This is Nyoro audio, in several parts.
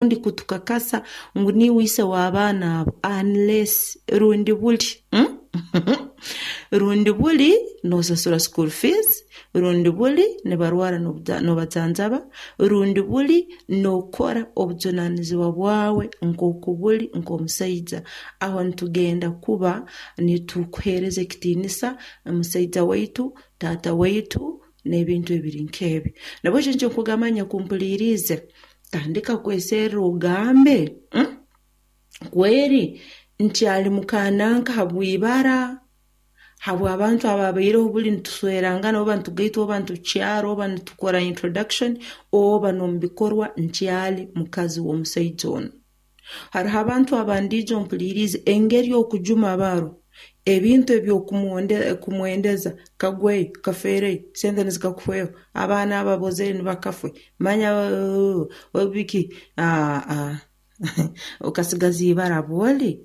Rundi kutukakasa ngu niiwe ise w'abaana abo unless rundi buli rundi buli noosasura school fees, rundi buli nibarwara noobajanjaba, rundi buli nookora obujunaanizibwa bwawe nkooku buli nk'omusaija. Aho nitugenda kuba nitukuheereza ekitiinisa musaija waitu, taata waitu n'ebintu ebiri nk'ebi. Nabweki nikyo nkugamba nyakumpuliiriize, tandika kweserra ogambe kweri nkyali mukaananka habw'ibara, habw'abantu abaabaireho buli nituswerangana oba nitugaitwa oba nitukyara oba nitukora introduction oba n'omu bikorwa nkyali mukazi w'omusaija onu. Haroho abantu abandiijo mpuliiriize engeri okujuma baro, ebintu eby'okumwendeza kagweyo, kafeereyo, sente nizikakuhweho, abaana abo ab'ozaire nibakafwe, manya biki okasigaza ibara bwoli,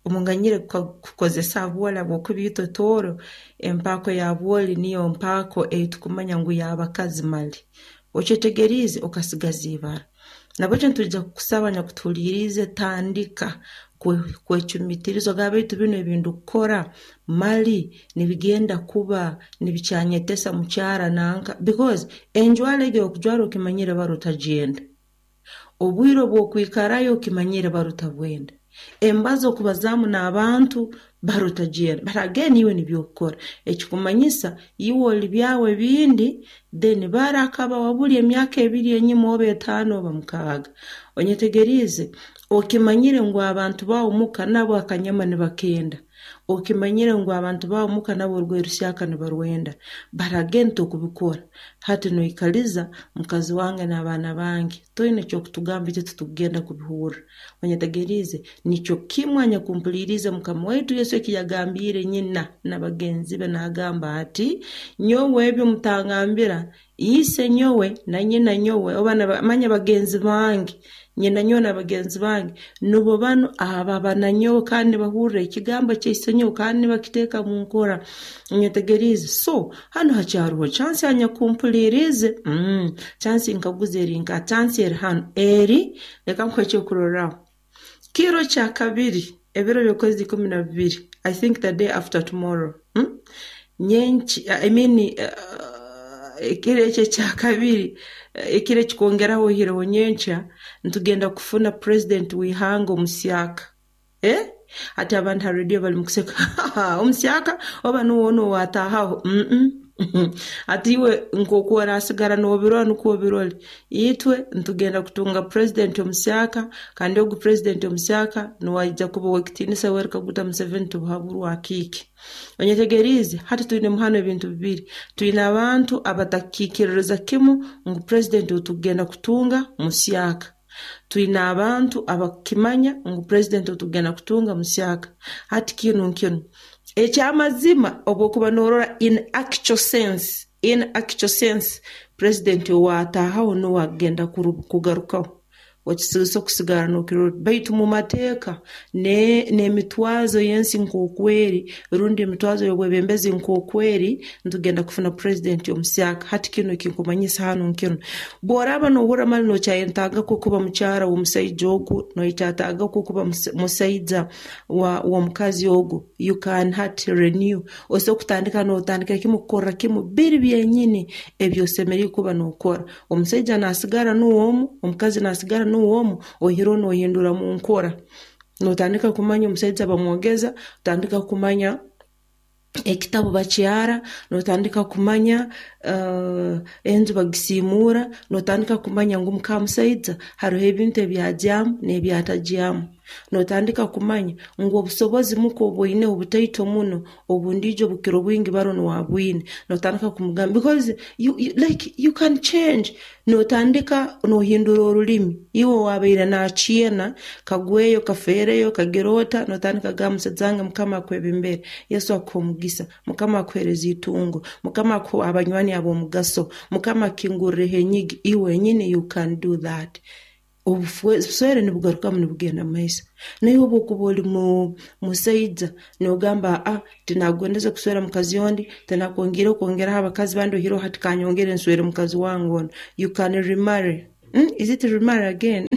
omunganyire kukozesa bwoli habwokuba itwe Tooro empaako ya bwoli niyo mpaako ei tukumanya ngu y'abakazi mali. Okyetegeriize okasigaza ibara. Nabweki nitwija kukusaba nyakutuhuliiriize tandika kwecumiitiriza ogambe baitu binu ebi ndukukora mali nibigenda kuba nibikyanyetesa mukyara nanka because enjwara egi ei okujwara okimanyire baro otagyenda. Obwire obu okwikarayo okimanyire baro otabwenda. Embazo okubazaamu n'abantu baro otagyenda. But again iwe nibyo okukora. Ekikumanyisa iwe oli byawe bindi then baro akaba wabuli emyaka ebiri enyuma oba 5 oba 6. Onyetegeriize okimanyire ngu abantu baawe muka nabo akanyama nibakenda. Okimanyire ngu abantu baawe muka nabo orugoye rusyaka nibarwenda. But again tokubikora. Hati noikaliza mukazi wange n'abaana bange toine eky'okutugamba itwe titukugenda kubihurra. Onyetegeriize nikyo kimu anyakumpuliiriize Mukama waitu Yesu eki yagambiire nyina na bagenzi be naagamba ati, nyowe ebyo mutangambira, ise nyowe na nyina nyowe oba manya bagenzi bange, nyina nyowe na bagenzi bange nubo banu ababa na nyowe kandi nibahurra ekigambo kya ise nyowe kandi nibakiteeka mu nkora. Onyetegeriize so hanu hakyaroho chance anyakumpuliiriize, chance nkaguza eri nka chance eri hanu eri leka nkuhe ekyokurorraho. Kiro kya kabiri ebiro by'okwezi 12, I think the day after tomorrow, nyenki I mean ekiro eki ekya kabiri ekiro ekikwongeraho oihireho nyenkya nitugenda kufuna president w'ihanga omusyaka. Hati abantu ha radio bali mukuseka omusyaka oba nuwe onu owaataahaho. Hati iwe nk'oku orasigara noobirora nukwo obirole. Itwe nitugenda kutunga president omusyaka kandi ogu president omusyaka nuwe aija kuba ow'ekitiinisa Yoweri Kaguta Museveni Tibuhaburwa Akiiki. Onyetegeriize hati twinemu hanu ebintu bibiri. Twine abantu abatakiikiririza kimu ngu president ou tukugenda kutunga musyaka. Twine abantu abakukimanya ngu president ou tukugenda kutunga musyaka. Hati kinu nkinu. Eky'amazima obu okuba noorora in actual sense, in actual sense president owaataahaho nuwe akugenda kugarukaho. Okisiisa okusigara nookirora baitu mu mateeka n'emitwazo y'ensi nk'oku eri rundi emitwazo y'obwebembezi nk'oku eri nitugenda kufuna president omusyaka. Hati kinu ekinkumanyisa hanu nkinu. Bw'oraaba noohurra mali nookyayetaaga kwo kuba mukyara w'omusaija ogu, nookyetaaga kwo kuba musaija w'omukazi ogu, you can hati renew. Osobola kutandika nootandikira kimu kukorra kimu biri byenyini ebi osemeriire kuba nookora. Omusaija naasigara nuwe omu, omukazi naasigara nuwe omu, oihireho noohindura mu nkora. Nootandika kumanya omusaija bamwogeza, otandika kumanya ekitabu bakyara, nootandika kumanya enju bagisiimuura, nootandika kumanya ngu muka musaija haroho ebintu ebi agyamu n'ebi atagyamu. Nootandika kumanya ngu obusobozi muka obu oineho butaito muno, obundiijo bukira obwingi baro nuwe abwine. Nootandika kumugamba because you, you, like you can change. Nootandika noohindura orulimi. Iwe owaabaire naakyena kagweyo, kafeereyo, kagira ota, nootandika kugamba musaija wange Mukama akwebembere, Yesu akuhe omugisa, Mukama akuheereze itungo, Mukama akuhe abanywani ab'omugaso, Mukama akukingurreho enyigi, iwe wenyini you can do that. Obuswere nibugarukamu nibugenda mu maiso. Naiwe obu okuba oli musaija noogamba tinakugondeze kuswera mukazi ondi, tinakwongiireho kwongeraho abakazi bandi oihireho hati kanyongere nswere mukazi wange onu. You can remarry. Is it remarry again?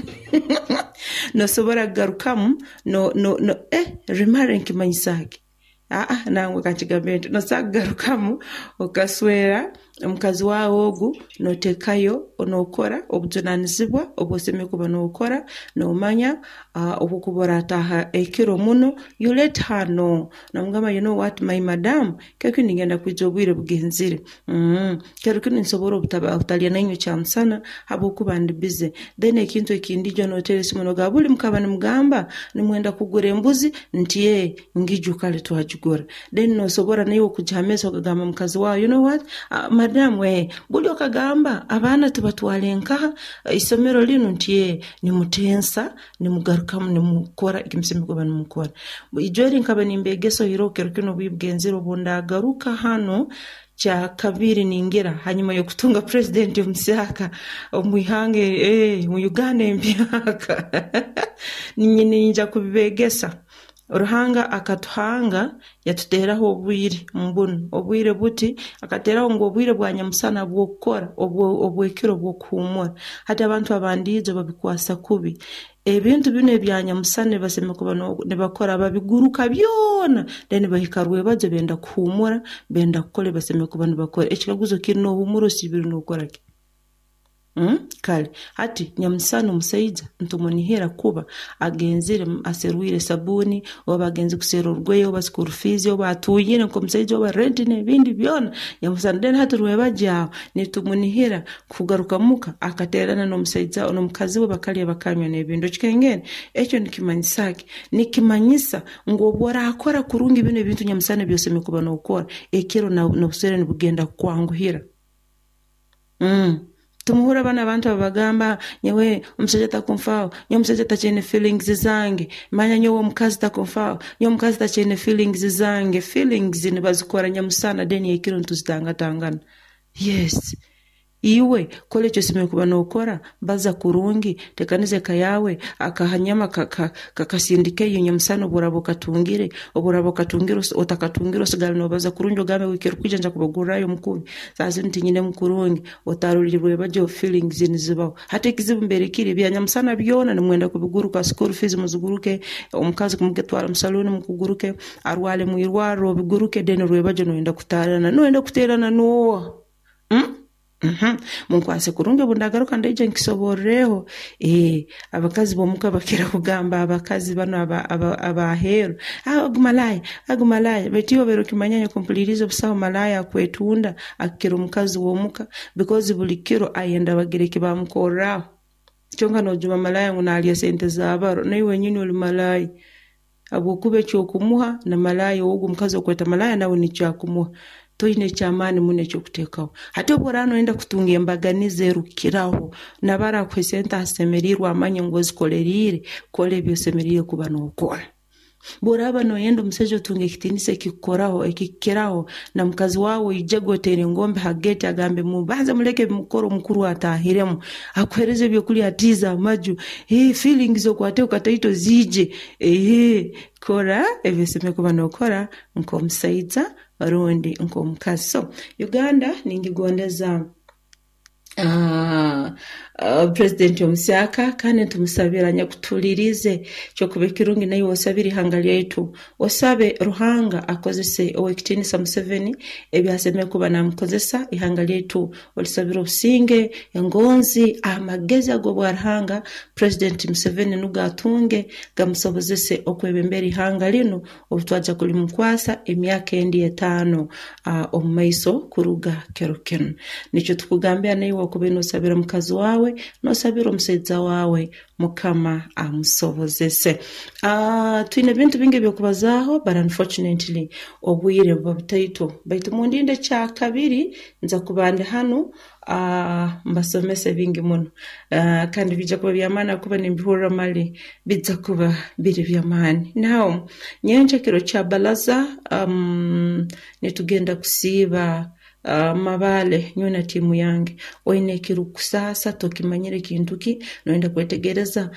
Nosobora kugarukamu no no no remarry nikimanyisa ki? Aa, nangwa kankigambe nti nosobora kugarukamu okaswera omukazi waawe ogu, noteekayo nookora obujunanizibwa obu osemeriire kuba nookora, noomanya obu okuba oraataaha ekiro muno, you let her know. Nomugamba you know what my madam, kiro kinu ningenda kwija obwire bugenzire, kiro kinu ninsobora obutalya nainywe kyamusana habwokuba ndi busy. Then ekintu ekindi ijo noteera esimu nogamba buli mukaba nimugamba nimwenda kugura embuzi nti ee ngijo kale twagigura. Then nosobora naiwe kugiha amaiso okagamba mukazi waawe you know what madam ee buli okagamba abaana tubatwale nkaha isomero linu nti ee nimutensa nimugarukamu nimukora eki musemeriire kuba nimukora. Ijo eri nkaba nimbeegesa oihireho kiro kinu obu bugenzire obu ndagaruka hanu kyakabiri ningira hanyuma y'okutunga purezidenti omusyaka omu ihanga omu Uganda empyaka niinyija kubibeegesa. Ruhanga akatuhanga yatuteeraho obwire mbunu, obwire buti akateeraho ngu obwire bwa nyamusana bw'okukora, obw'ekiro bw'okuhuumura. Hati abantu abandiijo babikwasa kubi. Ebintu binu ebya nyamusana ebi basemeriire kuba nibakora babiguruka byona then bahika rwebajo benda kuhuumura, benda kukora ebi basemeriire kuba nibakora. Ekikaguzo kiri nohuumura osiibire nokora ki? Kale hati nyamusana omusaija nitumunihira kuba agenzire aserwire sabuuni oba agenzire kuserra orugoye oba school fees oba atuuyire nk'omusaija oba rent n'ebindi byona nyamusana. Then hati rwebagyo aho nitumunihira kugaruka muka akateerana n'omusaija n'omukazi we bakalya bakanywa n'ebindi. Okikengere? Ekyo nikimanyisa ki? Nikimanyisa ngu obu oraakora kurungi binu ebintu nyamusana ebi osemeriire kuba nookora, ekiro n'obuswere nibugenda kukwanguhira. Tumuhurra banu abantu ababagamba nyowe omusaija takunfaaho, nyowe omusaija takyaine feelings zange, manya nyowe omukazi takunfaaho, nyowe omukazi takyaine feelings zange. Feelings nibazikora nyamusana then ekiro nituzitangatangana. Yes. Iwe kora eki osemeriire kuba nookora, baza kurungi, teekaniza eka yaawe, akahanyama kasindikeyo nyamusana obu oraaba okatungire, obu oraaba okatungire otakatungire osigale noobaza kurungi ogambe wiiki erukwija nja kubagurrayo omukubi, saaha zinu tinyinemu kurungi, otarora rwebagyo feelings nizibaho. Hati ekizibu mbere kiri ebya nyamusana byona nimwenda kubiguruka, school fees muziguruke, omukazi kumutwara mu saluuni mukuguruke, arwale mwirwarro obiguruke then rwebagyo noyenda kuteerana, noyenda kuteerana nooha? Munkwase kurungi obu ndagaruka ndaija nkisoborreho. Abakazi b'omuka bakira kugamba abakazi banu ab'aheeru, ogu malaaya, ogu malaaya, baitu iwe obaire okimanya nyowe busaho malaaya akwetunda akukira omukazi w'omuka because buli kiro ayenda bagire eki bamukorraho. Kyonka noojuma malaaya ngu naalya sente za baro, naiwe wenyini oli malaaya habwokuba eki okumuha na malaaya ogu omukazi okweta malaaya nawe nikyo akumuha. Toine eky'amaani muno eky'okuteekaho. Hati obu oraaba noyenda kutunga embaganiza erukukiraho, naba araakuha esente asemeriirwe amanye ngu ozikoleriire, kora ebi osemeriire kuba nookora. Obu oraaba noyenda omusaija otunge ekitiinisa ekikukoraho ekikukiraho, na mukazi waawe oijege oteere engombe ha geeti agambe mubanze muleke ebi mukukora omukuru ataahiremu, akuheereze ebyokulya atiize amaju, feelings okwateho kataito ziije, kora ebi osemeriire kuba nookora nk'omusaija rundi nk'omukazi. So Uganda ningigondeza Purezidenti omusyaka kandi nitumusabira anyakutuhuliriize kyokuba ekirungi naiwe osabire ihanga lyaitu. Osabe Ruhanga akozese Owekitiinisa Museveni ebi asemeriire kuba naamukozesa ihanga lyaitu. Olisabire obusinge, engonzi, amagezi ag'obwa Ruhanga Purezidenti Museveni nugo atunge gamusobozese okwebembera ihanga linu obu twaija kulimukwasa emyaka endi etaano omu maiso kuruga kiro kinu. Nikyo tukugambira naiwe okuba noosabira mukazi waawe, noosabira omusaija waawe, Mukama amusobozese. Twine ebintu bingi eby'okubazaaho but unfortunately obwire buba butaito. Baitu mundinde ekyakabiri nza kuba ndi hanu mbasomese bingi muno kandi biija kuba by'amaani ahakuba nimbihurra mali biija kuba biri by'amaani. Now nyenkya kiro kya baraza nitugenda kusiiba Mabaale nyowe na tiimu yange. Oine ekirukukusaasa, tokimanyire kintu ki, noyenda kwetegereza.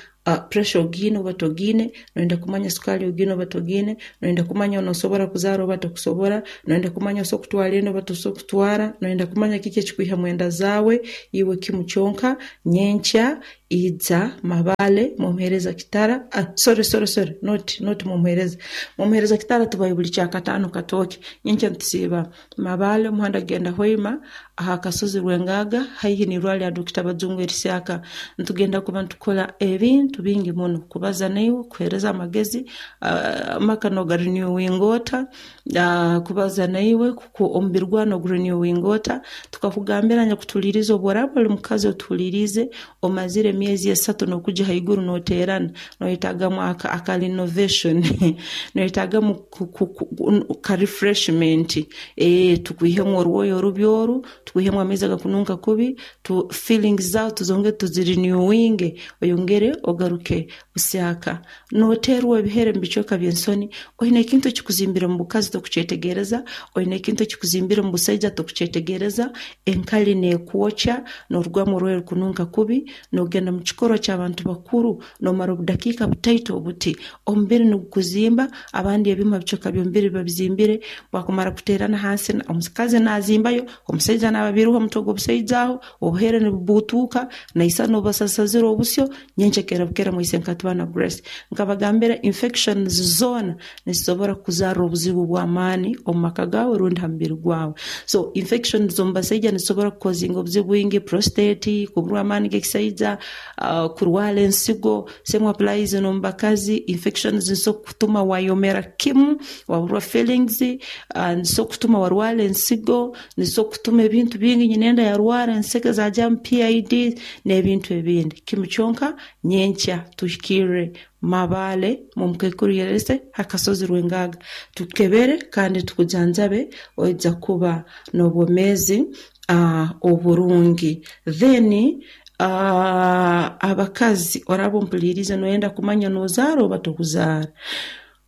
Pressure ogiine oba togiine, noyenda kumanya sukaali ogiine oba togiine, noyenda kumanya nosobora kuzaara oba tokusobora, noyenda kumanya osobola kutwara enda oba tosobora kutwara, noyenda kumanya kiki ekikwihamu enda zaawe, iwe kimu kyonka nyenkya ija Mabale mumuheereza Kitara, sorry sorry sorry not not mumuheereza, mumuheereza Kitara tubayo buli kyakataano Katooke, nyenkya nitusiiba Mabale omuhanda gugenda Hoima aha kasozi Rwengaga haihi n'irwarro lya Dokita Bajungu erihyaka. Nitugenda kuba nitukora ebintu bingi muno, kubaza naiwe, kukuheereza amagezi, amaka nogarinewinga ota, kubaza naiwe, omubiri gwawe nogurinewinga ota, tukakugambira nyakutuhuliirize obu oraaba oli mukazi otuhuliiriize, omazire emyezi esatu n'okugya haiguru nooteerana, noyetaagamu aka renovation, noyetaagamu ka refreshment, tukwihemu orwoya orubi oru, tukwihemu amaizi agakununka kubi, feelings zaawe tuzongere tuzirinewinge, oyongere ogaruke busyaka. Nooteerwa ebihere omu bicweka by'ensoni, oine ekintu ekikuzimbire omu bukazi tokukyetegereza, oine ekintu ekikuzimbire omu busaija tokukyetegereza, enkali neekwokya, noorugamu orwoya orukununka kubi, noogenda mu kikorwa ky'abantu bakuru, noomara obudakiika butaito obuti, omubiri nigukuzimba, abandi ebimu ha bicweka by'omubiri biba bizimbire, bwakumara kuteerana hansi, omukazi naazimbayo, omusaija naaba biruho omutwe gw'obusaija aho, obuhere nibubuutuuka, naisana obasasazire obusyo, nyenkya kera bukera mwaise nkatubana Grace. Nkabagambira infections zoona nizisobora kukuzarra obuzibu bw'amaani omu maka gaawe rundi ha mubiri gwawe. So infections omu basaija nizisobora kukozinga obuzibu bwingi, prostate, kuburwa amaani g'ekisaija, kurwara ensigo, same applies n'omu bakazi, infections nizisobora kutuma wayomera kimu, waburwa feelings, nizisobora kutuma warwara ensigo, nizisobora kutuma ebintu bingi, nyinenda yarwara enseke zajamu PID n'ebintu ebindi. Kimu kyonka nyenkya tuhikirre Mabale mumukaikuru Yerese ha kasozi Rwengaga tukukebere kandi tukujanjabe oija kuba n'obwomeezi oburungi. Then abakazi oraaba ompuliirize noyenda kumanya nozaara oba tokuzaara.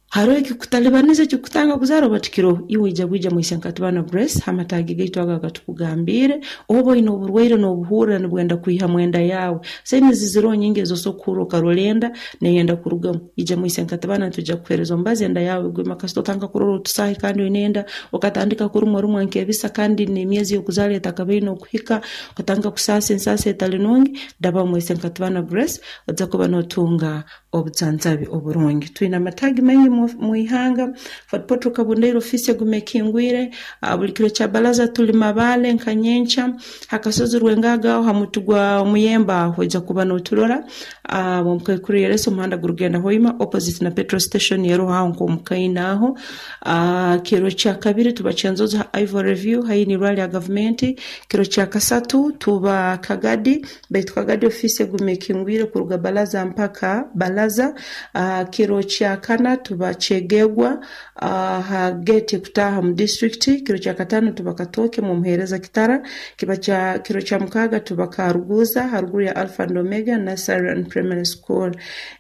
Haroho ekikutalibaniza ekikukutanga kuzaara oba tikiroho? Iwe ija bwija mwa Isenkatibana Grace h'amataagi gaitu ago agatukugambiire. Oba oine oburwaire n'obuhurra nibwenda kwihamu enda yaawe. Signs ziroho nyingi ez'osobora kuhurra okarora enda neyenda kurugamu. Ija mwa Isenkatibana nitwija kukuheereza omubazi enda yaawe egwema. Kasita otandika kurora otusaahi kandi oine enda, okatandika kurumwa rumwa nk'ebisa kandi n'emyezi y'okuzaara etakabaine okuhika, okatandika kusaasa ensaasa etali nungi, daba mwa Isenkatibana Grace oija kuba notunga obujanjabi oburungi. Twine amataagi maingi mu ihanga, Fort Portal Kabundaire ofiisi eguma ekingwire, buli kiro kya baraza tuli Mabale nka nyenkya, ha kasozi Rwengaga aho ha muti gwa muyembe aho oija kuba noturora, omukaikuru Yeresa omuhanda gurugenda Hoima opposite na petrol station eroho aho nk'omu kaina aho. Kiro kya kabiri tuba Kyenzozi ha Ivory View haihi n'irwarro lya gavumenti. Kiro kya kasatu tuba Kagadi. Baitu Kagadi ofiisi eguma ekingwire kuruga Balaza mpaka Balaza. Kiro kyakana tuba Kyegegwa ha geeti ekutaaha mu disiturikiti. Kiro kyakataano tuba Katooke mu Muheereza Kitara. Kiba kya kiro kyamukaaga tuba Karuguuza haruguru ya Alpha and Omega Nursery and Primary School.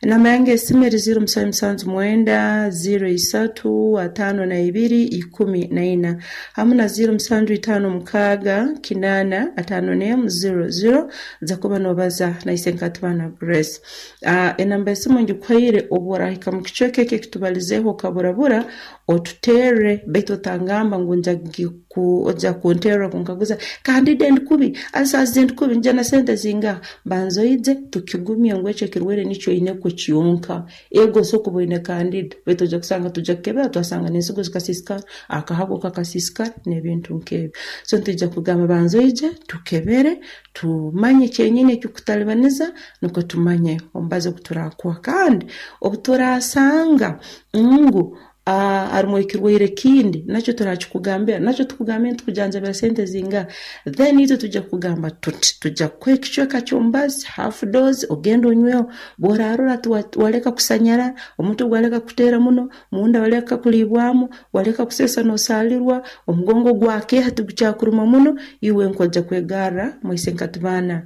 Enamba yange y'esimu eri ziiro musanju musanju mwenda, ziiro isatu, ataano na ibiri, ikumi na ina hamu na ziiro musanju itaano mukaaga, kinaana, ataano n'emu, ziiro ziiro. Nza kuba noobaza na Isenkatibana Grace. Enamba y'esimu ngikuhaire obu oraahika mu kicweka eki ekitubalizeeho okaburabura, otuterre baitu otangamba ngu nja kunterra kunkaguza kandi ndi kubi, asazize ndi kubi, nija na sente zingaha? Banza oije tukigumye ngu ekyo ekirwaire nikyo oine kwo kyonka. Ego osobola kuba oine kandida baitu oija kusanga twija kukebera twasanga n'ensigo zikasiisikara, akahago kakasiisikara n'ebintu nk'ebyo. So nitwija kugamba banza oije tukebere tumanye kyenyini ekikutalibaniza nukwo tumanye omubazi ogu turakuha. Kandi obu turasanga ngu harumu ekirwaire ekindi nakyo turakikugambira, nakyo tukugambire nitukujanjabira sente zingaha, then itwe twija kukugamba tuti twija kukuha ekicweka ky'omubazi half dose ogende onyweho, bw'orarora waleka kusanyara, omutwe gwaleka kukuteera muno, munda waleka kuliibwamu, waleka kuseesa n'osaalirwa, omugongo gwakeeha tigukyakuruma muno, iwe nk'oija kwegarra mwaise nkatibana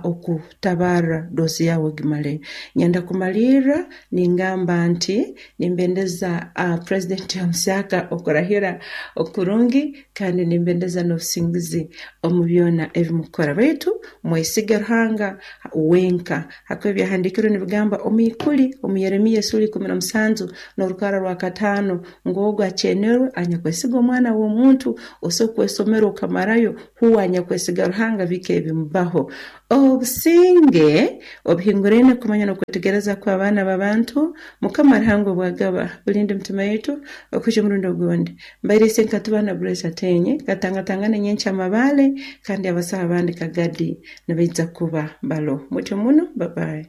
okutabarra dose yaawe ogimale. Nyenda kumalirra ningamba nti nimbendeza President omusyaka okurahira okurungi, kandi nimbendeza n'obusinguzi omu byona ebimukukora. Baitu mwesige Ruhanga wenka. Hakuba ebyahandiikirwe nibigamba omu ikuli omu Yeremiya esura 17 n'orukara rwa 5 ngu ogu akyenerwe anyakwesiga omwana w'omuntu, osobola kwesomera okamarayo, huwe anyakwesiga Ruhanga bike ebimubaho. Obusinge obuhinguraine kumanya n'okwetegereza kw'abaana b'abantu, Mukama Ruhanga obwagaba, bulinde emitima yaitu okuhikya omurundi ogundi. Mbaire Isenkatibana Grace Ateenyi, katangatangane nyenkya Amabaale, kandi abasaho abandi Kagadi nibaija kuba balo. Mutyo muno, babayi.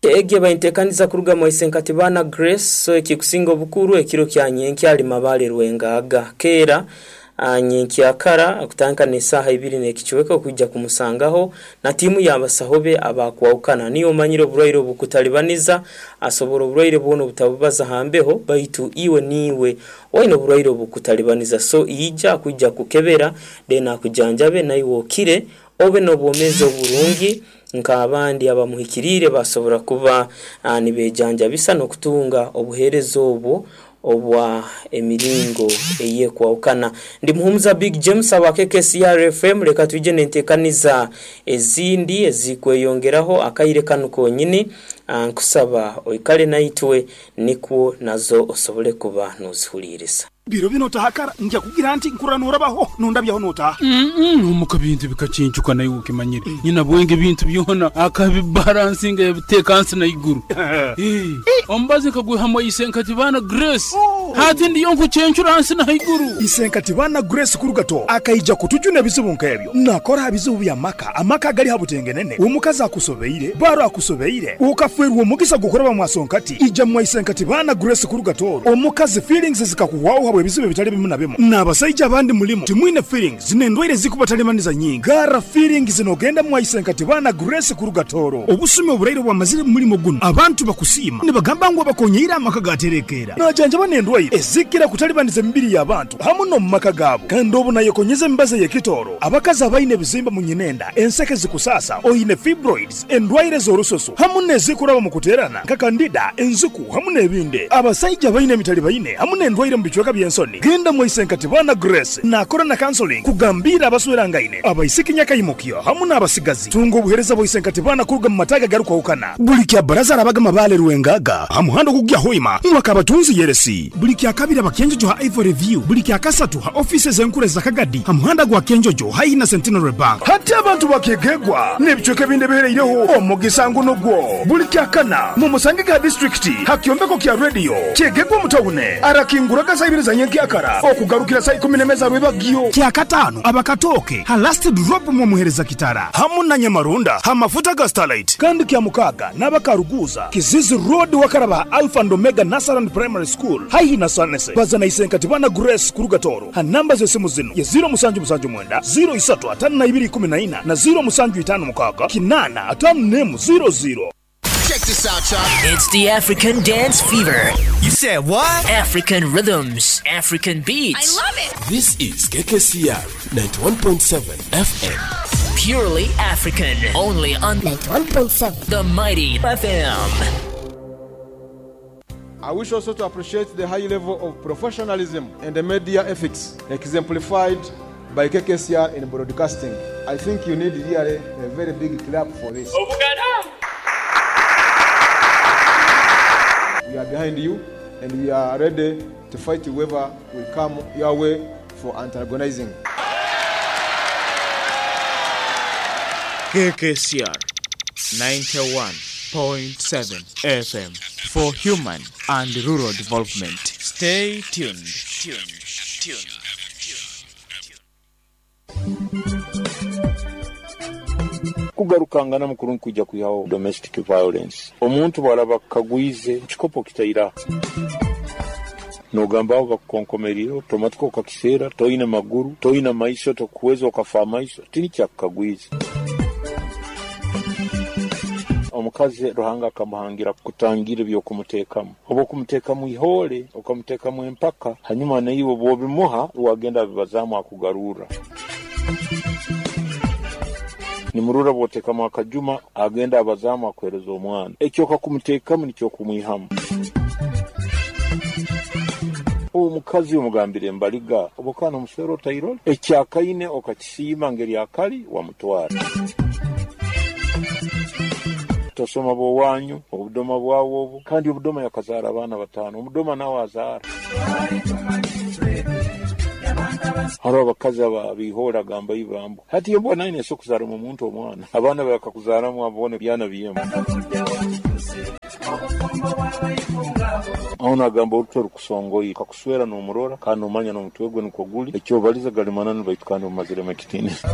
Egi eba enteekaniza kuruga mwa Isenkatibana Grace, so ekikusinga obukuru ekiro kya nyenkya ali Mabaale Rwengaaga. Keera nyenkyakara kutandika n'esaaha ibiri n'ekicweka okwija kumusangaho na tiimu y'abasaho be abakwahukana. Niiwe omanyire oburwaire obukutalibaniza, asobora oburwaire bwona obutabubaza ha mbeho, baitu iwe niiwe oine oburwaire obukutalibaniza. So ija akwija kukebera then akujanjabe naiwe okire obe n'obwomeezi oburungi nk'abandi abamuhikiriire basobora kuba nibejanjabisa n'okutunga obuheereza obwo obwa emiringo eyekwahukana. Ndi Muhumuza Big James aba KKCR FM, leka twije n'entekaniza ezindi ezikweyongeraho akaire kanu konyini. Nkusaba oikale naitwe nikwo nazo osobole kuba nozihuliiriza. Biro binu otaha kara, ngya kugira nti nkurora norabaho, nondabyaho notaha. Omuka bintu bikacincuka naiwe okimanyire. Nyina bwenge ebintu byona akabibaransinga yabiteeka hansi na iguru. Omubazi nkagwihamu Isenkatibana Grace. Hati ndiyo nkucencura hansi na haiguru. Isenkatibana Grace kuruga Toro akaija kutujuna ebizibu nk'ebyo. Nakora ha bizibu by'amaka, amaka agali ha butengenene, omukazi akusobeire, baro akusobeire, okafeerwa omugisa gw'okuraba mwasonkati. Ija mwa Isenkatibana Grace kuruga Toro. Omukazi feelings zikakuhwaho habw'ebizibu ebitali bimu na bimu. N'abasaija abandi mulimu timwine feelings. Zino endwaire ezikubatalibaniza nyingi. Garra feelings nogenda mwa Isenkatibana Grace kuruga Tooro. Obusumi oburaire obwamazire mu mulimo gunu, abantu bakusiima nibagamba ngu abakonyeire amaka gaterekeera. Najanjaba n'endwaire ezikira kutalibaniza emibiri y'abantu hamu n'omu maka gaabo. Kandi obu nayekonyeza emibazi ey'ekitooro, abakazi abaine ebizimba mu nyinenda, enseke zikusaasa, oine fibroids, endwaire z'orususu hamu n'ezikuraba mu kuteerana nka kandida, enziku hamu n'ebindi. Abasaija abaine emitalibaine hamu n'endwaire mu bicweka by'ensoni, genda mwaise Nkatibana Grace naakora na counseling kugambiira abaswerangaine, abaisiki nyakaimukyo hamu n'abasigazi. Tunga obuheereza bwa Isenkatibana kuruga mu mataagi agarukwahukana. Buli kya Baraza arabaga Mabaale Rwengaga ha muhanda ogukugya Hoima mwaka Abatunzi Yeresi. Buli kya Kabiri aba Kyenjojo ha Ivory View. Buli kya Kasatu ha ofiisi ez'enkuru eza Kagadi ha muhanda gwa Kyenjojo haihi na Centenary Bank. Hati abantu bakeegegwa n'ebicweka ebindi ebihereireho omugisa ngu nugwo. Buli Kyakana mumusangege ha disiturikiti ha kyombeko kya rediyo Kyegegwa omu tawune. Arakinguraga saa ibiri za nyenkyakara okugarukira saa ikumi n'emwe za rwebagyo. Kyakataano aba Katooke ha Last Drop mwomuhereza Kitara hamu na Nyamaronda ha mafuta ga Starlite. Kandi Kyamukaaga n'aba Karuguuza, Kizizi Road wakaraba ha Alpha and Omega Nursery and Primary School haihi na Sanese. Baza na Isenkatibana Grace kuruga Tooro ha namba z'esimu zinu ye ziro musanju musanju mwenda, ziro isatu atano na ibiri ikumi na ina na ziro musanju itano mukaaga kinaana atano n'emu ziro ziro. Check this out, y'all. It's the African Dance Fever. You said what? African rhythms, African beats. I love it. This is KKCR 91.7 FM. Purely African. Only on 91.7 The Mighty FM. I wish also to appreciate the high level of professionalism and the media ethics exemplified by KKCR in broadcasting. I think you need really a very big clap for this. We are behind you and we are ready to fight whoever will come your way for antagonizing. KKCR 91.7 FM for human and rural development. Stay tuned. Tuned. Tuned. Kugarukanganamu kurungi kwija kwihaho domestic violence. Omuntu bw'araba akukagwize, ekikopo kitaira. Nogamba aho bakukonkomerire, otomatika okakiseera, toine maguru, toine maiso, tokuweza okafa amaiso, tinikyakukagwize. Omukazi Ruhanga akamuhangira kutangira eby'okumuteekamu. Obu okumuteekamu ihoole, okamuteekamu empaka, hanyuma naiwe obu obimuha, wagenda abibazaamu akugarurra. Nimurora bw'oteekamu akajuma, agenda abazaamu akuheereza omwana. Eki okakumuteekamu nikyo okumwihamu. Omukazi omugambire embaliga obukana omuswera otairole ekyakaine okakisiima ngeri akali wamutwara. Tosoma bwowanyu obudoma bwawe obu, kandi obudoma yakazaara abaana 5, omudoma nawe azaara. Hariho abakazi ababihoora agamba ibambo hati embwa nayo neso kuzaaramu omuntu omwana, abaana bakakuzaaramu abone byana byemu. Aho nagamba orutwe rukusongoire kakuswera n'omurora kandi nomanya n'omutwe gwe nikwo guli, ekyobaliza gali mananu baitu kandi omumaziremu ekitiinisa.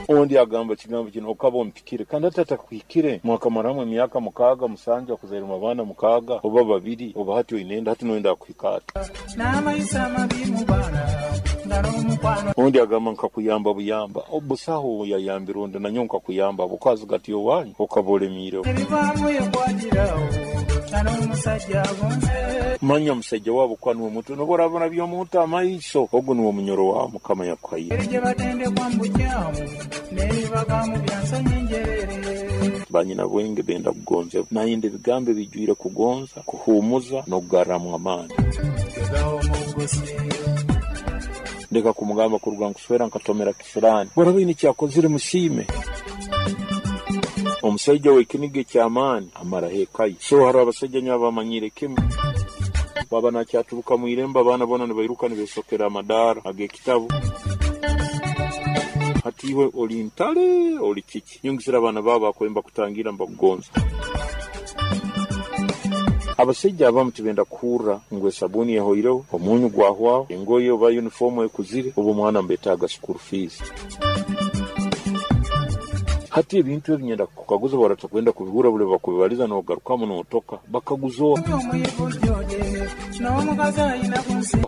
Ondi agamba ekigambo kino okaba ompikire, kandi hati atakuhikire mwakamaramu emyaka 6 7 akuzairemu abaana 6 oba 2, oba hati oine hati noyenda akuhika ati. Ondi agamba nkakuyamba buyamba, obusaho yayambira ondi nanyo nkakuyamba bukazi gati owanyu okaba olemiire. Manya omusajja wabo kwa niwe mutu noborabona by'omuntu amaiso ogu niwe munyoro wa Mukama yakuhaire. Banyina bwenge benda kugonza nayenda ebigambo ebijwire kugonza, kuhumuza n'okugarramu amaani. Ndeka kumugamba kuruga nkuswera nkatomera kisirani, boraba ine kyakozire musiime. Omusajja w'ekiniga eky'amaani amaraho ekaye. So hariho abasajja nyo abamanyire kimu baba nakyaturuka mu irembo, abaana bona nibairuka nibesokera amadaara ag'ekitabu. Hati iwe oli ntale oli kiki, nyongesera abaana babo bakwemba kutangira mbakugonza. Abasajja abamu tibenda kuhurra ngu esabuni ehoireho, omunyu gwahwaho, engoye oba uniform ekuzire, oba omwana mbetaaga school fees. Hati ebintu ebi nyenda kukaguza baratakwenda kubihura buli bakubibaliza n'ogarukamu n'otoka bakaguza.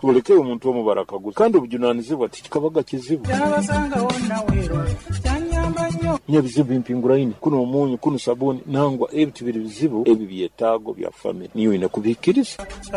Tuleke omuntu omu barakaguza, kandi obujunanizibwa tikikabaga kizibu. Nyebizibu bimpinguraine kuno omunyu kuno sabuni nangwa ebi tibiri bizibu, ebi byetaago bya family niyo ine kubihikiriza.